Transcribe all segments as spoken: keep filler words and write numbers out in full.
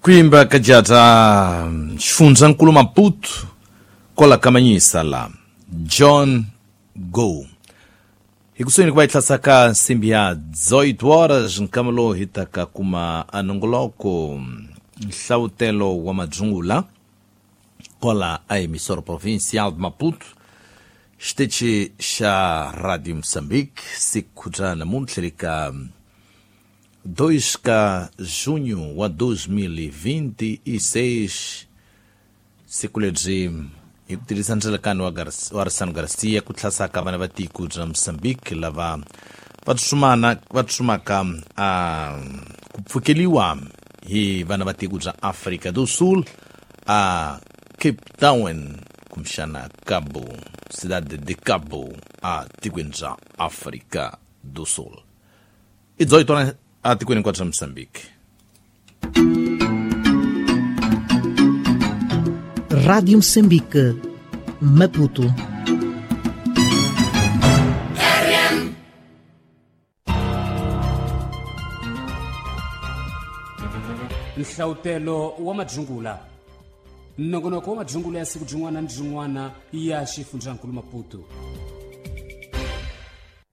Kuimba kajata xifundzankulu Maputo kola kamanyisa la John Go. Hikusweni kuva itlasaka nsimbi ya dezoito horas nkamalo hitaka kuma anongoloko nhlawutelo wa madzungula kola a emissora provincial de Maputo xitichi xa Radio Moçambique siku ra namuntlha lika dois ka junho wa dois mil e vinte e seis siku lebyi hi ku tirhisa ndzelekano wa wa Arsano Garcia ku hlasaka vana va tiko bya Moçambique lava va tsutsumana va tsutsumaka a ku pfukeliwa hi vana va tiko bya Afrika do Sul a Cape Town kumbexana Cabo Cidade de Cabo a tikweni bya Afrika do Sul. I dezoito horas a tikweni hinkwabyo bya Moçambique. Rádio Moçambique, Maputo. Nhlawutelo wa madzungula. Nongonoko wa madzungula ya siku byin'wana ni byin'wana ya xifundzankulu Maputo.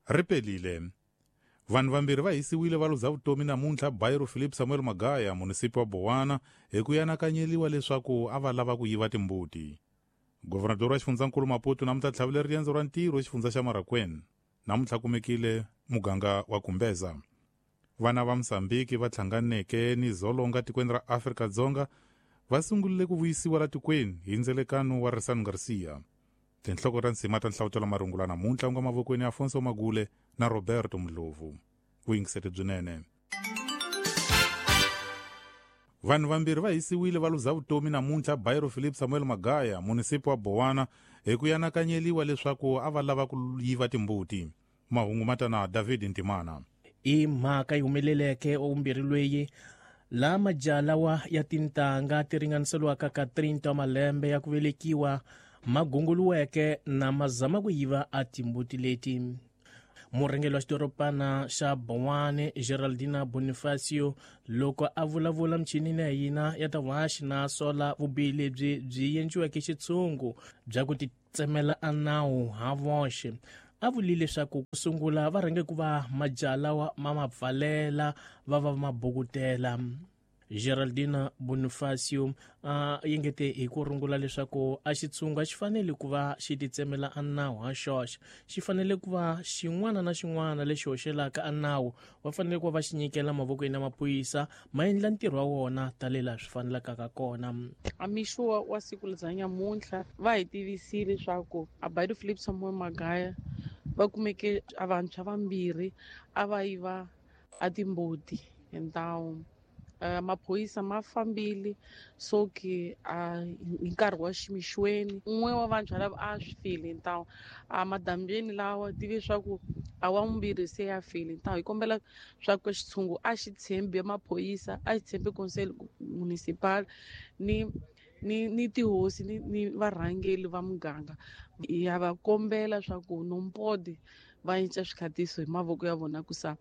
Ripelile. Vanhu vambirhi va hisiwile va luza vutomi namuntlha Bairo Philip Samuel Magaya, munisipi wa Bowana, hi ku anakanyeliwa leswaku a va lava ku yiva timbuti. Governador wa xifundzankulu Maputo namuntlha tlhavile riendzo ra ntirho xifundza xa Marakwena. Namuntlha kumekile muganga wa Kumbeza. Vana va Mozambique va hlanganeke ni zolonga tikweni ra Afrika-Dzonga va sungurile ku vuyisiwa la tikweni hi ndzelekano wa Arsano Garcia. Tinhloko ta nsima ta nhlawutelo marungula namuntlha nga mavokweni ya Afonso Magule na Roberto Mdlovu. Vuyingiseti byinene. Vanhu vambirhi va hisiwile va luza vutomi namuntlha Bairo Philip Samuel Magaya, munisipi wa Bowana, hi ku anakanyeliwa leswaku a va lava ku yiva timbuti. Mahungu matana David Ntimana. I mhaka yi humeleleke ovumbirhi lweyi la majalawa ya tintanga ti ringaniseliwaka ka trinta wa malembe ya ku velekiwa magunguluweke na mazama ku yiva a timbuti leti. Murhangeri wa xidorobana xa Bowane Geraldina Bonifacio loko a vulavula michinini ya hina ya ta vuhaxi na sola vubihi lebyi byi endliweke xitshungu bya ku titsemela a nawu ha voxe. A vulile leswaku ku sungula va rhange ku va majalawa ma ma pfalela va va mabukutela. Geraldina Bonifacio a yengete hi ku rungula leswaku a xitshungu a xi fanele ku va xi titsemela a nawu ha xoxe, xi fanele ku va xin'wana na xin'wana lexi hoxelaka a nawu va fanele ku va va xi nyikela mavokweni ya maphorisa ma endla ntirho wa wona tanihi swi fanelaka ka kona. A mixo wa siku bya nyamuntlha va hi tivisile leswaku a Bairo Philip Samuel Magaya va kumeke a vantshwa vambirhi a va yiva a timbuti hi ntawu. Uh, maphorisa ma fambile so ke a hi nkarhi wa ximixweni un'we wa vantshwa lava a swi file ntawu a madambyeni lawa tive swa ku a wa vumbirhi se ya file ntawu. Hi kombela swa ku xitshungu a xi tshembi maphorisa, a xi tshembi conseil municipal ni ni ni tihosi ni ni varhangeri va muganga. Ya va kombela swa ku nompodi va cinca swikhatiso hi mavoko ya vona ku sa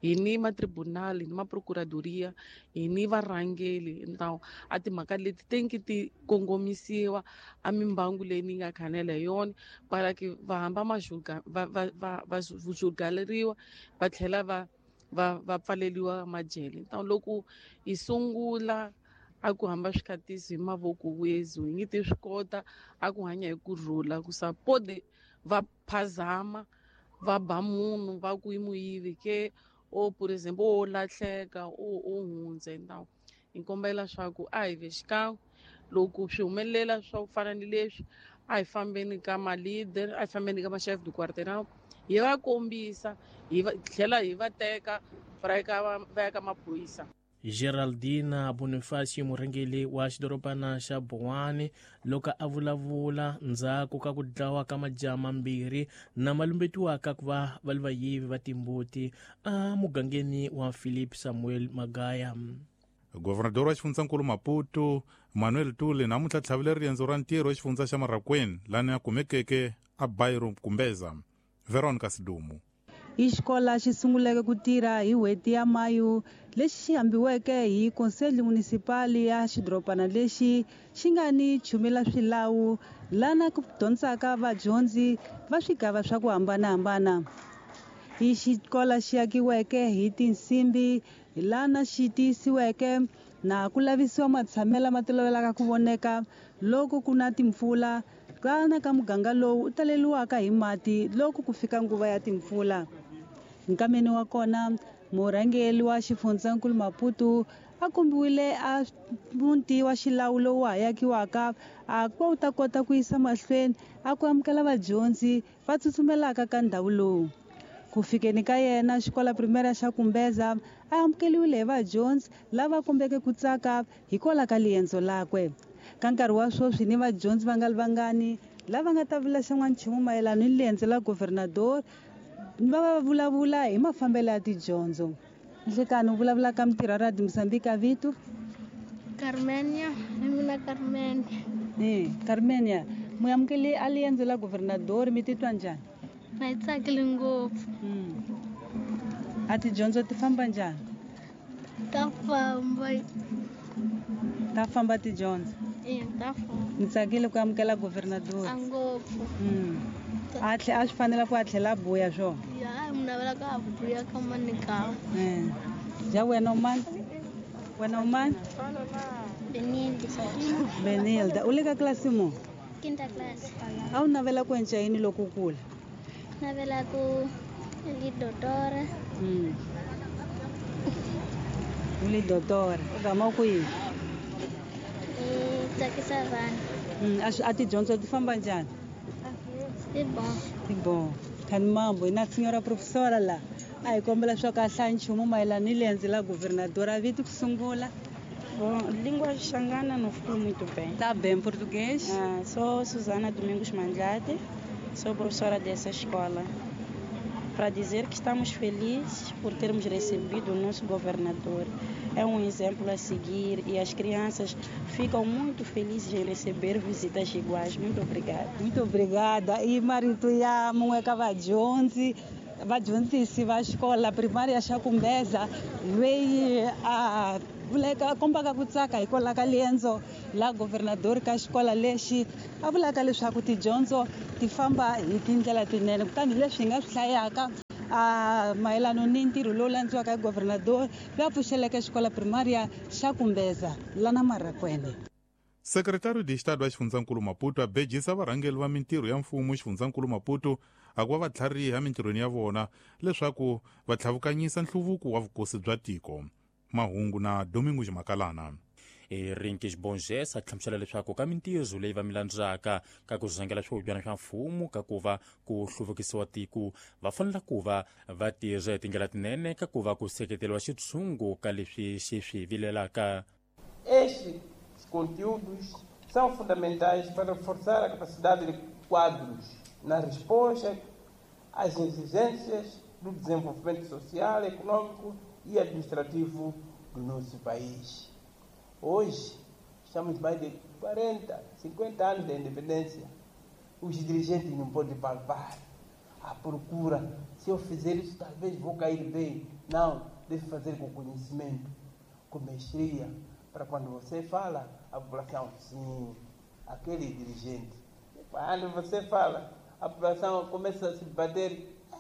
hi ni matribunal, hi ni maprocuradoria, hi ni varhangeri ntawu a timhaka leti tenki ti kongomisiwa a mimbangu leyi ni nga khanela hi yona para ke va hamba majuga va va va va jugaleriwa va tlhela va va va pfaleliwa majele. Ntawu loko hi sungula a ku hamba swikhatiso hi mavoko wezu hi nge ti swi kota a ku hanya hi kurhula ku sa podi va phazama va ba munhu va ku i muyivi ke o por exemple o lahleka o o hundza. Ntawu hi kombela swa ku a hi ve xikan'we loko swi humelela swa ku fana ni leswi a hi fambeni ka ma-leader, a hi fambeni ka ma-chef de quartier hi va kombisa hi va tlhela hi va teka va ya ka va ya ka maphorisa. Geraldina Bonifacio murhangeri wa xidorobana xa Bowane loko a vulavula ndzhaku ka ku dlawa ka majaha mambirhi na malumbetiwaka ku va va li vayivi va timbuti a mugangeni wa Philip Samuel Magaya. Governador wa xifundzankulu Maputo Manuel Tule namuntlha tlhavile riendzo ra ntirho xifundza xa Marakwena lani a kumekeke a Bairo Kumbeza. Veronica Sidumu. I xikola xi sunguleke ku tirha hi n'hweti ya Mayu lexi xi hambiweke hi Conselho Municipal ya xidorobana lexi xi nga ni chumela swilawu lana ku dyondzaka vadyondzi va swigava swa ku hambanahambana. I xikola xi akiweke hi tinsimbi lana xi tiyisiweke na ku lavisiwa matshamelo lama tolovelaka ku voneka loko ku na timpfula kana ka muganga lowu u taleriwaka hi mati loko ku fika nguva ya timpfula. Nkameni wa kona murhangeri wa xifundzankulu Maputo a kombiwile a muti wa xilawu lowu ha akiwaka a ku wu ta kota ku yisa mahlweni a ku amukela vadyondzi va tsutsumelaka ka ndhawu lowu. Ku fikeni ka yena xikola primaria xa Kumbeza a amukeliwile hi vadyondzi lava kombeke ku tsaka hikwalaho ka liendzo lakwe. Ka nkarhi wa sweswi ni vadyondzi va nga ri vangani lava nga ta vula xan'wanchumu mayelana ni liendzo la governador va va vulavula hi mafambelo ya tidyondzo. Nhlekani u vulavula ka mitirho ya Radio Mozambique vito? Carmenia, hi mina Carmenia. Eh, Carmenia, mu amukele a liendzo la governador mi titwa njhani? Na yi tsakile ngopfu. A tidyondzo ti famba njhani? Ta famba. Ta famba tidyondzo? E, ta famba. Ni tsakile ku amukela governador. A ngopfu. Mm. A tlhe a swi fanela ku a tlhela a buya swona? Ya, mi navela ka a buya ka manika. Eh. Ja wena u mani? Wena u mani? Benilda. Benilda, u le ka klasi muni? Quinta classe. A wu navela ku endla yini loko u kula? Navela ku li doutora. Mm. U li doutora. U gama ku yini? I tsakisa vanhu. Mm, a a tidyondzo ti famba njhani? Ti bon. Ti bon. Khani mambo na senhora professora la. A hi kombela swa ka hlaya nchumu mayelana ni liendzo la governador a vito ku sungula. Bom, língua xangana não ficou muito bem. Tá bem, português? Ah, sou Susana Domingos Mandlate, sou professora dessa escola. Para dizer que estamos felizes por termos recebido o nosso governador. É um exemplo a seguir e as crianças ficam muito felizes em receber visitas iguais. Muito obrigada. Muito obrigada. E marito ya mun'we ka vadyondzi vadyondzisi va xikola primaria xa Kumbeza loyi a vuleka kombaka ku tsaka hikwalaho ka liendzo la governador ka xikola lexi a vulaka leswaku tidyondzo ti famba hi tindlela tinene kutani leswi hi nga swi hlayaka a mayelana ni ntirho lowu landziwaka hi governador loyi a pfuxeleke xikola primaria xa Kumbeza lana Marakwene. Secretário de Estado wa xifundzankulu Maputo a bejisa varhangeri va mintirho ya mfumo xifundzankulu Maputo a ku va va tlhariha mintirhweni ya vona leswaku va tlhavukanyisa nhluvuko wa vukosi bya tiko. Mahungu na Domingos Makalana. Rinkis Bonges a hlamusela leswaku ka mintirho leyi va milandzaka ka ku rhangela swihubyana swa mfumo ka ku va ku hluvukisiwa tiko va fanela ku va va tirha hi tindlela tinene ka ku va ku seketeriwa xitshungu ka leswi xi swi vilelaka. Estes conteúdos são fundamentais para reforçar a capacidade de quadros na resposta às exigências do desenvolvimento social, econômico e administrativo do nosso país. Hoje, estamos mais de quarenta, cinquenta anos da independência. Os dirigentes não podem palpar a procura. Se eu fizer isso, talvez vou cair bem. Não, deve fazer com conhecimento, com mestria, para quando você fala, a população, sim, aquele dirigente. Quando você fala, a população começa a se bater, é,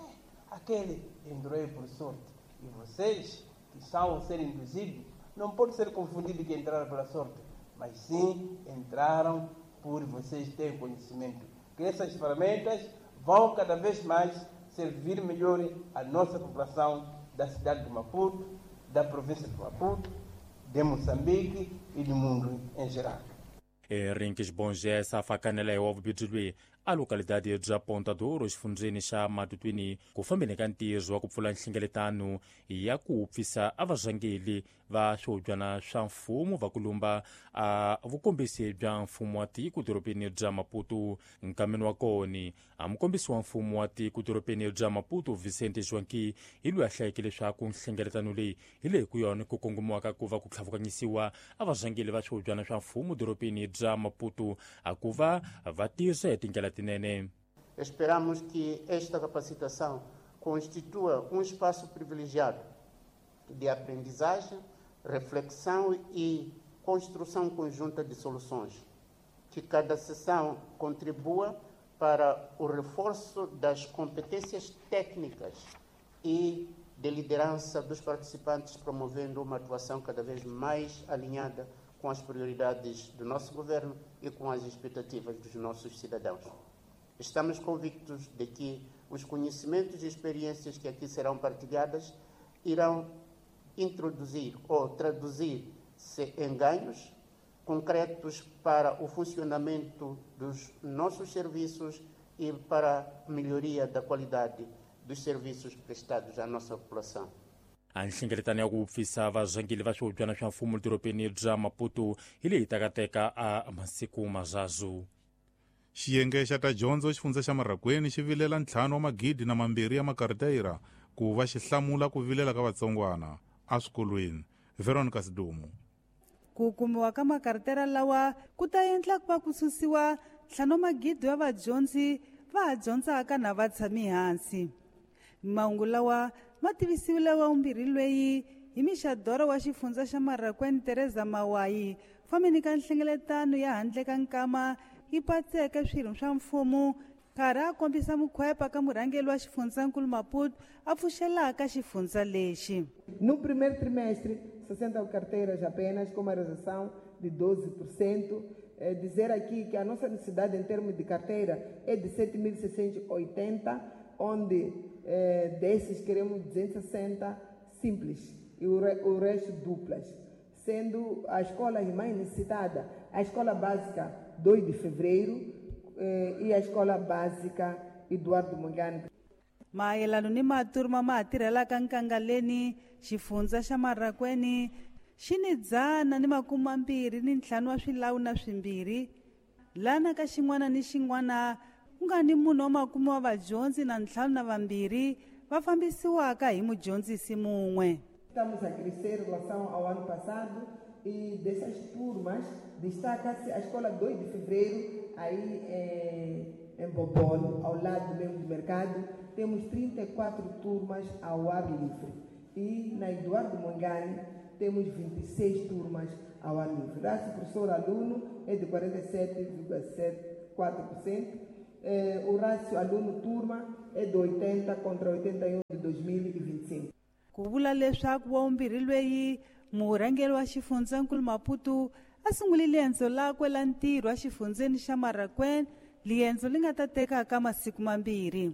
aquele entrou aí por sorte. E vocês, que são a ser induzidos, não pode ser confundido que entraram pela sorte, mas sim entraram por vocês terem conhecimento. Que essas ferramentas vão cada vez mais servir melhor a nossa população da cidade de Maputo, da província de Maputo, de Moçambique e do mundo em geral. Rinkis Bonges a fakanela hi wa vubibyi loyi a localidade bya Ponta do Ouro xifundzeni xa Matutwini ku fambeni ka ntirho wa ku pfula nhlengeletano ya ku pfisa a varhangeli va swihubyana swa mfumo va kulumba a vukombisi bya mfumo wa tiko dorobeni bya Maputo. Nkameni wa koni a mukombisi wa mfumo wa tiko dorobeni bya Maputo Vicente Joaquim hi loyi a hlayeke leswaku nhlengeletano leyi hi leyi ku yona ku kongomiwaka ku va ku tlhavukanyisiwa a varhangeli va swihubyana swa mfumo dorobeni bya Maputo a ku va va tirha hi tindlela tinene. Esperamos que esta capacitação constitua um espaço privilegiado de aprendizagem, reflexão e construção conjunta de soluções. Que cada sessão contribua para o reforço das competências técnicas e de liderança dos participantes, promovendo uma atuação cada vez mais alinhada com as prioridades do nosso governo e com as expectativas dos nossos cidadãos. Estamos convictos de que os conhecimentos e experiências que aqui serão partilhadas irão introduzir ou traduzir-se em ganhos concretos para o funcionamento dos nossos serviços e para a melhoria da qualidade dos serviços prestados à nossa população. A nhlengeletano ya ku pfisa varhangeri va swihubyana swa mfumo dorobeni bya Maputo hi leyi takateka a masiku mazhazu. Xiyenge xa ta dyondzo xifundza xa Marrakwini xi vilela ntlhanu wa magidi na mambirhi ya makarteyira ku va xi hlamula ku vilela ka vatsongwana eswikolweni. Veronica Sidumo. Ku kumiwa ka makartera lawa ku ta endla ku va ku susiwa ntlhanu wa magidi wa vadyondzi va ha dyondzaka na va tshami hansi. Mahungu lawa ma tivisiwile wa vumbirhi lweyi hi mixadoro wa xifundza xa Marrakwini Teresa Mawayi fambeni ka nhlengeletano ya handle ka nkama yi patseke swirho swa mfumo nkarhi a kombisa mukhwepa ka murhangeri wa xifundzankulu Maputo a pfuxelaka xifundza lexi. No primeiro trimestre, sessenta carteiras apenas, com uma redução de doze por cento. Eh, dizer aqui que a nossa necessidade em termos de carteira é de sete mil seiscentos e oitenta, onde eh, desses queremos duzentos e sessenta simples e o, re, o resto duplas, sendo a escola mais necessitada a escola básica dois de fevereiro eh, e a escola básica Eduardo Mongani. Mayelano ni maturma ma tirhelaka nkangaleni xifundza xa Marrakwini xi ni dzana ni makume mambirhi ni ntlhanu wa swilawu na swimbirhi lana ka xin'wana ni xin'wana ku nga ni munhu wa makume wa vadyondzi na ntlhanu na vambirhi va fambisiwaka hi mudyondzisi mun'we. Estamos a crescer em relação ao ano passado e dessas turmas destaca-se a escola dois de fevereiro aí em, em Bobol, ao lado mesmo do mercado, temos trinta e quatro turmas ao ar livre. E na Eduardo Mongani temos vinte e seis turmas ao ar livre. O professor-aluno é de quarenta e sete vírgula setenta e quatro por cento, eh, o rácio aluno-turma é de oitenta contra oitenta e um de dois mil e vinte e cinco. Ku vula leswaku wa vumbirhi lweyi murhangeri wa xifundzankulu Maputo a sungule liendzo lakwe la ntirho exifundzeni xa Marrakwini, liendzo li nga ta tekaka masiku mambirhi.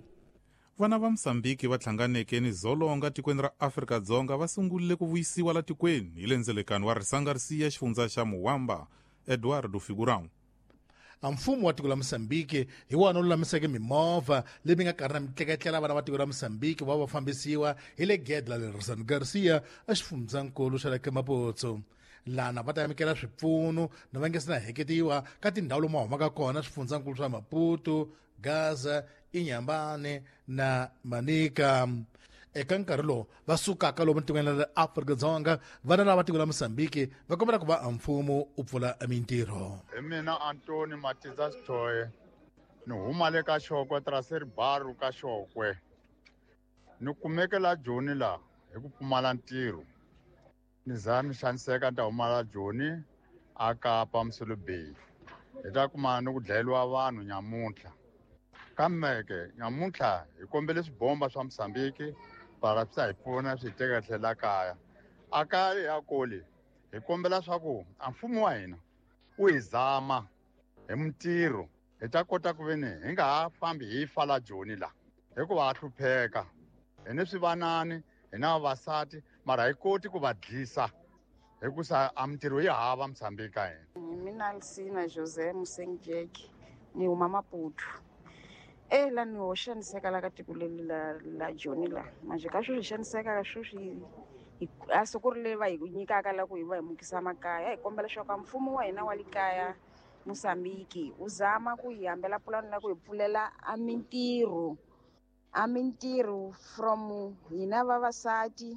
Vana va Mozambique va hlanganeke ni dzolonga tikweni ra Afrika-Dzonga va sungurile ku vuyisiwa la tikweni hi le ndzelekano wa Risangarisiya xifundza xa Muwamba. Eduardo Figurão. A mfumo wa tiko la Mozambique hi wona lulamiseke mimovha leyi nga karhi na mitleketlela vana va tiko la Mozambique va va fambisiwa hi le gede la le Rizan Garcia exifundzankulu xa le Maputo. Lana va ta amukela swipfuno na va nge se na heketiwa ka tindhawu lomu humaka kona swifundzankulu swa Maputo, Gaza, Inhambane na Manica. Eka nkarhi lowu va sukaka lomu tikweni ra Afrika-Dzonga vana lava tiko la Mozambique va kombela ku va mfumo u pfula mintirho. Hi mina Antoni Matiza Sithoye, ni huma le ka Xokwe, Traseribaru ka Xokwe. Ni kumeke la Joni la hi ku pfumala ntirho. Ni za ni xaniseka ni ta huma la Joni a Kapa Msulubei. Hi ta kuma ni ku dlayeriwa vanhu nyamuntlha. Kambe ke nyamuntlha hi kombele swibomba swa Mozambique para swi ta hi pfuna swi hi teka tlhela kaya. A kaya ya koli hi kombela swa ku a mfumo wa hina wu hi zama hi mintirho hi ta kota ku veni hi nga ha fambi hi fa la Joni la hikuva ha hlupheka. Hi ni swivanani, hi na vavasati, mara hi koti ku va dlisa hikusa a mintirho yi hava Mozambique ka hina. Hi mina Alcina José Musengjeke, ni huma Maputo. E la ni ho xaniseka la ka tiko leri la la Joni la manje ka sweswi xaniseka ka sweswi a siku ri leri va hi nyikaka la ku hi va hi mukisa makaya hi kombela leswaku mfumo wa hina wa le kaya Mozambique wu zama ku hi hambela pulani la ku hi pfulela a mintirho a mintirho from hina vavasati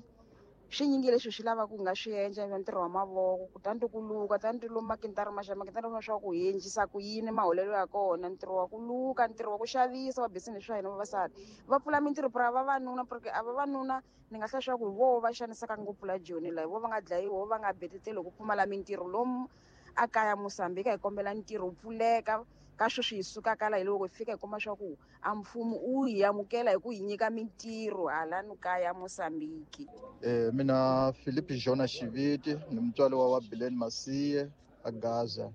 Swi nyingi leswi swi lavaka ku nga swi endla ntirho wa mavoko kutani ku luka tani lomu makintara maxa makintara swa ku hi endlisa ku yini maholelo ya kona ntirho wa ku luka ntirho wa ku xavisa wa business swa hina vavasati va pfula mintirho pra vavanuna porque a vavanuna ni nga hlaya swa ku hi voho va xanisaka ngopfu la Joni la hi voho va nga dlayiwa vo va nga beteteli ku pfumala mintirho lomu a kaya Mozambique hi kombela ntirho wu pfuleka ka sweswi hi sukaka la hi loko hi fika hi kuma swa ku a mfumo wu hi amukela hi ku hi nyika mintirho halano kaya Mozambique. Eh mina Philip Jona Xiviti ni mutswari wa Bileni Masiye a Gaza.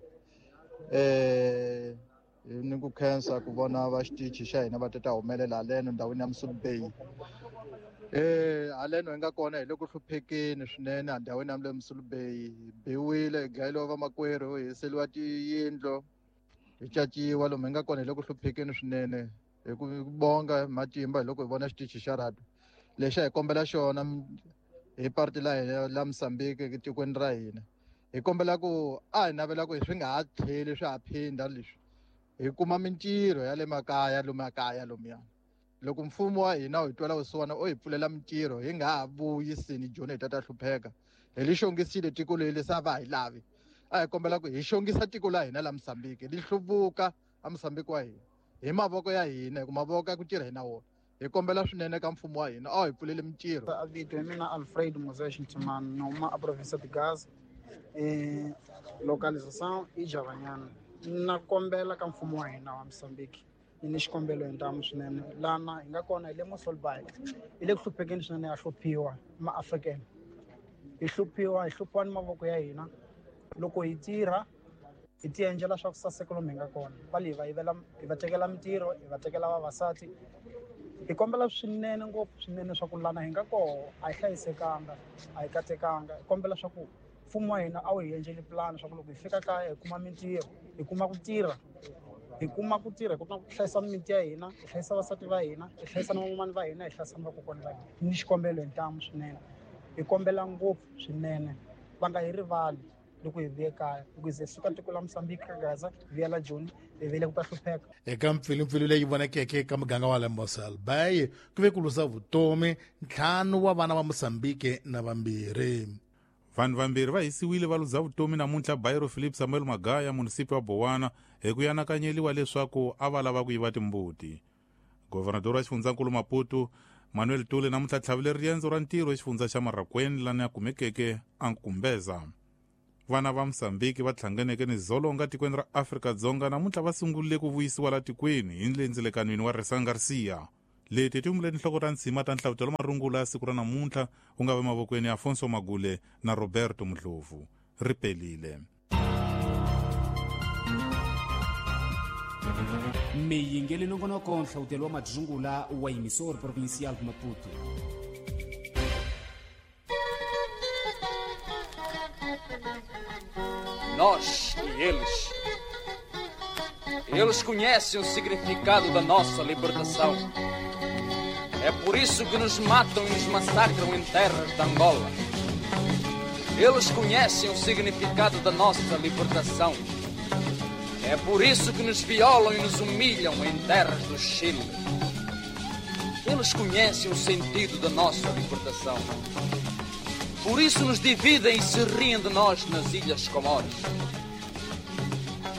Eh ni ku khensa ku vona va xitichi xa hina va tata humelela haleno ndhawini ya Mossel Bay. Eh haleno hi nga kona hi le ku hluphekeni swinene endhawini ya le Mossel Bay. Biwile hi dlayeliwa vamakwerhu hi hiseliwa tiyindlu hi caciwa lomu hi nga kona hi le ku hluphekeni swinene hi ku bonga matimba hi loko hi vona xitichi xa radio lexi a hi kombela xona hi parti la hina la Mozambique tikweni ra hina hi kombela ku a hi navela ku swi nga ha tlheli swi ha phinda leswi hi kuma mintirho ya le makaya lomu makaya lomuya loko mfumo wa hina wu hi twela vusiwana o hi pfulela mintirho hi nga ha vuyisini Joni hi ta ta hlupheka hi li xongisile tiko leri se a va hi lavi a hi kombela ku hi xongisa tiko la hina la Mozambique li hluvuka a Mozambique wa hina hi mavoko ya hina hi ku mavoko ya ku tirha hi na wona hi kombela swinene ka mfumo wa hina a hi pfulele mintirho. Vito ya mina Alfredo Moses Ntimani ni huma a province de Gaza eh localização Ijavanyana. Na kombela ka mfumo wa hina wa Mozambique ni ni xikombelo hi ntamu swinene lana hi nga kona hi le Mossel Bay hi le ku hluphekeni swinene ya hluphiwa ma-African hi hluphiwa hi hluphiwa ni mavoko ya hina loko hi tirha hi ti endlela swa ku saseka lomu hi nga kona va le hi va yivela hi va tekela mintirho hi va tekela vavasati hi kombela swinene ngopfu swinene swa ku lana hi nga koho a hi hlayisekanga a hi katekanga hi kombela swa ku mfumo wa hina a wu hi endleli pulani swa ku loko hi fika kaya hi kuma mintirho hi kuma ku tirha hi kuma ku tirha hi kota ku hlayisa mimiti ya hina hi hlayisa vasati va hina hi hlayisa na van'wamani va hina hi hlayisa na vakokwani va hina ni xikombelo hi ntamu swinene hi kombela ngopfu swinene va nga hi rivali loko hi vuye kaya loko hi ze suka tiko la Mozambique ka Gaza hi vuya la Joni hi vele ku ta hlupheka. Eka mpfilumpfilu leyi vonakeke eka muganga wa le Mossel Bay ku ve ku luza vutomi ntlhanu wa vana va Mozambique na vambirhi. Vanhu vambirhi va hisiwile va luza vutomi namuntlha Bairo Philip Samuel Magaya munisipi wa Bowana hi ku anakanyeliwa leswaku a va lava ku yiva timbuti. Governador wa xifundzankulu Maputo Manuel Tule namuntlha tlhavile riendzo ra ntirho exifundza xa Marraquene lani a kumekeke a Nkumbeza. Vana va Mozambique va hlanganeke ni dzolonga tikweni ra Afrika-Dzonga namuntlha va sungurile ku vuyisiwa la tikweni hi ndzelekanwini wa Resan Garcia. Leti ti humile tinhloko ta ntshima ta nhlavutelo marungula ya siku ra namuntlha ku nga va mavokweni ya Afonso Magule na Roberto Mudlovu. Ri pelile. Miyingeli nongonoko nhlawutelo wa madzungula wa emissor provincial Maputo. Nós e eles. Eles conhecem o significado da nossa libertação. É por isso que nos matam e nos massacram em terras de Angola. Eles conhecem o significado da nossa libertação. É por isso que nos violam e nos humilham em terras do Chile. Eles conhecem o sentido da nossa libertação. Por isso nos dividem e se riem de nós nas Ilhas Comores.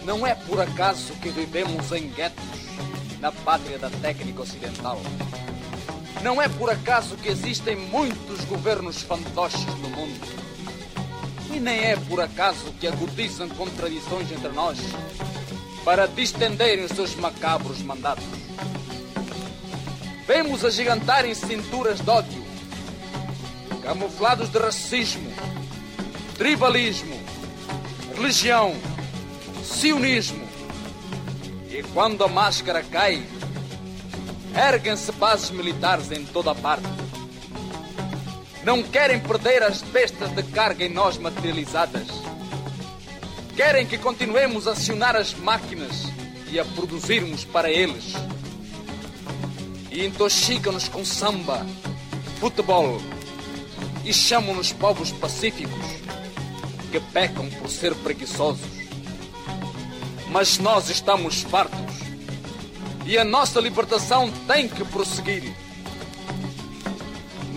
Não é por acaso que vivemos em guetos, na pátria da técnica ocidental. Não é por acaso que existem muitos governos fantoches no mundo. E nem é por acaso que agudizam contradições entre nós para distenderem os seus macabros mandatos. Vemos agigantarem cinturas de ódio, camuflados de racismo, tribalismo, religião, sionismo. E quando a máscara cai, erguem-se bases militares em toda a parte. Não querem perder as bestas de carga em nós materializadas. Querem que continuemos a acionar as máquinas e a produzirmos para eles. E intoxicam-nos com samba, futebol e chamam-nos povos pacíficos que pecam por ser preguiçosos. Mas nós estamos fartos e a nossa libertação tem que prosseguir.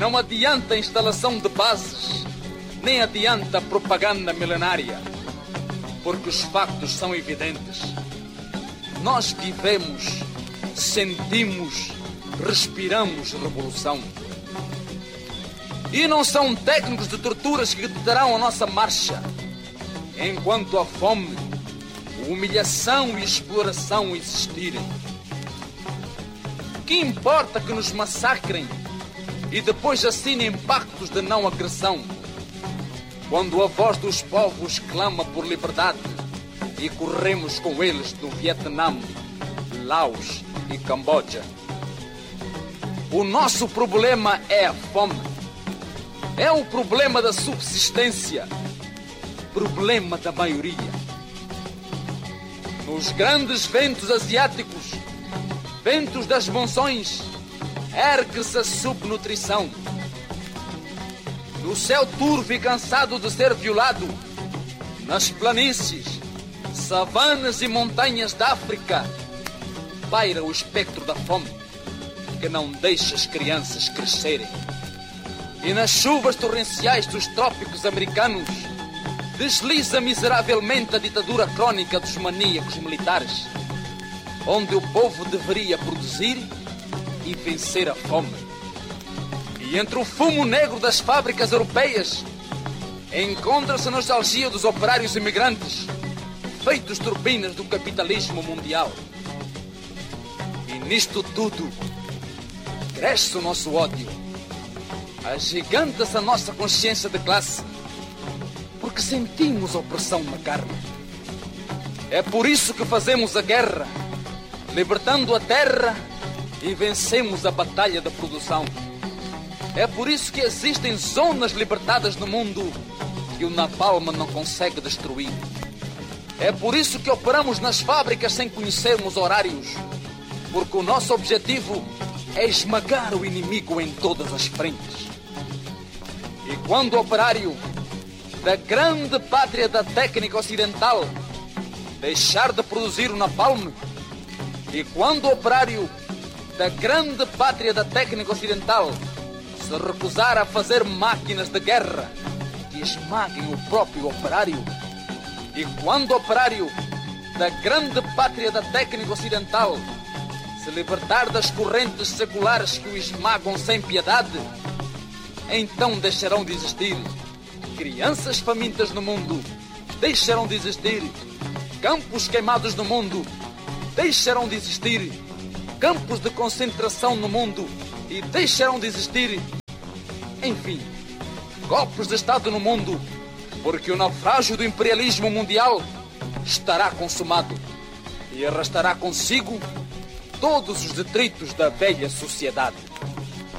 Não adianta a instalação de bases, nem adianta a propaganda milenária, porque os factos são evidentes. Nós vivemos, sentimos, respiramos revolução. E não são técnicos de torturas que deterão a nossa marcha, enquanto a fome, humilhação e exploração existirem. Que importa que nos massacrem e depois assinem pactos de não agressão, quando a voz dos povos clama por liberdade e corremos com eles do Vietnã, Laos e Camboja. O nosso problema é a fome. É o problema da subsistência, problema da maioria. Nos grandes ventos asiáticos, ventos das monções, ergue-se a subnutrição. No céu turvo e cansado de ser violado, nas planícies, savanas e montanhas da África, paira o espectro da fome, que não deixa as crianças crescerem. E nas chuvas torrenciais dos trópicos americanos, desliza miseravelmente a ditadura crónica dos maníacos militares, onde o povo deveria produzir e vencer a fome. E entre o fumo negro das fábricas europeias, encontra-se a nostalgia dos operários imigrantes, feitos turbinas do capitalismo mundial. E nisto tudo, cresce o nosso ódio, agiganta-se a nossa consciência de classe, porque sentimos opressão na carne. É por isso que fazemos a guerra, libertando a terra e vencemos a batalha da produção. É por isso que existem zonas libertadas no mundo que o napalm não consegue destruir. É por isso que operamos nas fábricas sem conhecermos horários, porque o nosso objetivo é esmagar o inimigo em todas as frentes. E quando o operário da grande pátria da técnica ocidental deixar de produzir o napalm, e quando o operário da grande pátria da técnica ocidental se recusar a fazer máquinas de guerra que esmaguem o próprio operário, e quando o operário da grande pátria da técnica ocidental se libertar das correntes seculares que o esmagam sem piedade, então deixarão de existir crianças famintas no mundo, deixarão de existir campos queimados no mundo, deixarão de existir campos de concentração no mundo e deixarão de existir, enfim, golpes de Estado no mundo, porque o naufrágio do imperialismo mundial estará consumado e arrastará consigo todos os detritos da velha sociedade.